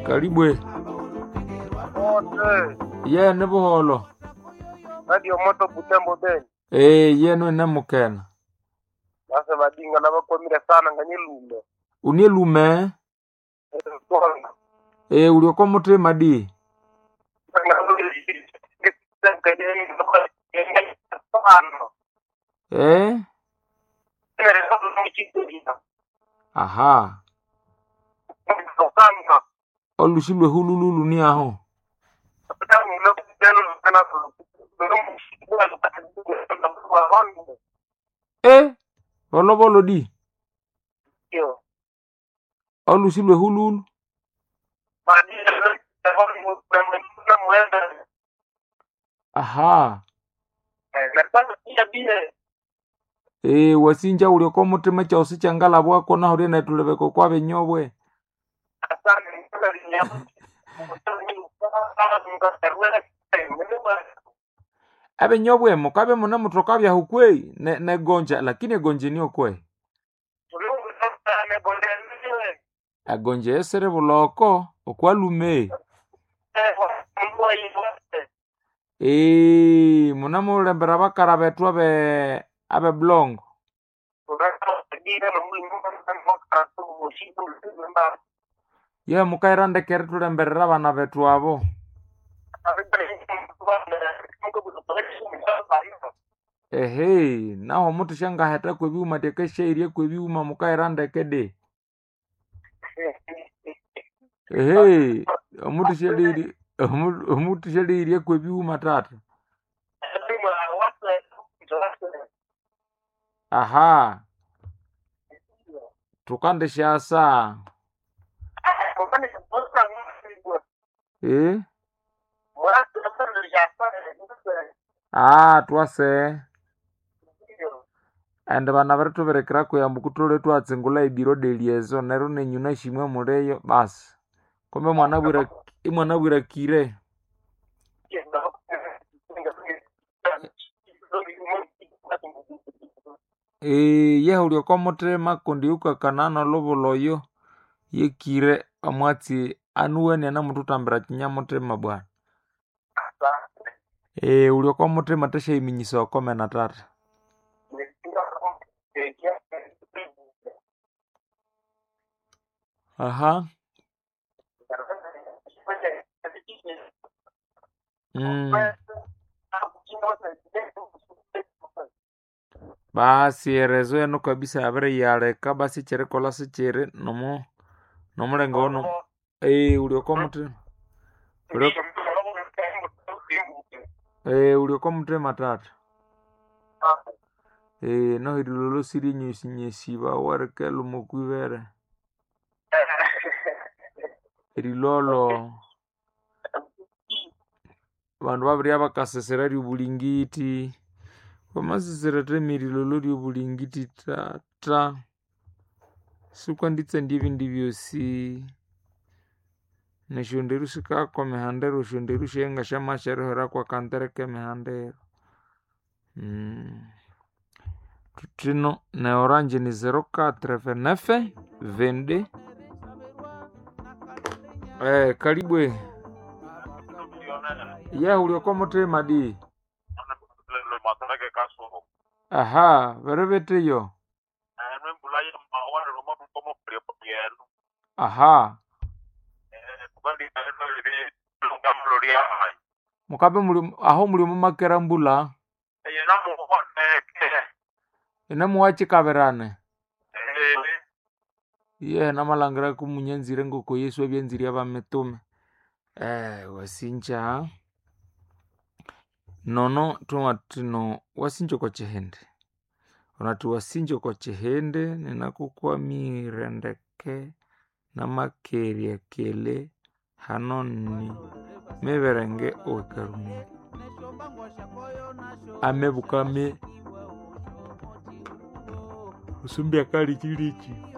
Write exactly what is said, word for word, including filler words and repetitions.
Kalibwe Ote, ye ni buholo Radio Moto Butembo Beni. eh yenu ene mukena Nase badinga nabakwamire sana nganye lume. unie lume eh ulioko mutima di eh aha olushi lwe hulululu ni aho eh bolobolo di olushi lwe hululu aha eh wasinja ulioko mutima chausi changalabwako nahurie netulebeko kwa benyobwe abenyobwe mukabe muna mutoka byahu kwei ne, negonja lakini egonje niyo kwei egonje esere buloko okwalume ee muna mulembera bakara betu abe abe blongo ye mukaira ndekere tulemberera abana betu abo ehe naho mutu shangaheta kwebiuma tekesheirie kwebiuma mukaira ndeke de ehe omutu shelirie omutu shelirie kwebiuma tata aha tukandishasa eh ah twase ende bana barituberekera kuyamba kutole twatsingula ebiro deliezo neryo nenyuna shimwe muleyo basi kumbe mwana bwira imwana bwirakire ee yehulya oko muthima kundi yukakanana olubuloyo yekire omwatsi anuweni anamuthutambira kinyamuthima bwana ee uli oko muthima tashayiminyisa okomena tata aha mm. Basi erezo eno kabisa yabiriyaleka basi kyerikolha sikyiri nomu nomulengo ono ee uli oko muthima uli ee uli oko muthima tata ee noheri lolosire nyesinyesibawa rikeluma okwibere erilolo bandu babirya bakasesera ryobulingiti vamasesera teme erilolo ryobulingiti tata sikwanditsa ebindi byosi nesyonderu sikakwa emihandero esyonderu syenga syamasyaruhira kwakantere kemihandero mm. Tuthino ne orange ni zero quatre vingt-neuf vingt-deux eh kalibwe ye ulioko muthima di aha vereveteyo aha mukabe muli aho muli mumakera mbula ine muwachikaberane ye namalangira kumunyanzire ngoko yesu abyanzire abamitume eh wasinja nono twamatino wasinja kwa chihende onati wasinja kwa chihende ninakukwamire ndeke namakerya kele hanoni miberenge owekarumiri amebukame usumbya kali chilichi.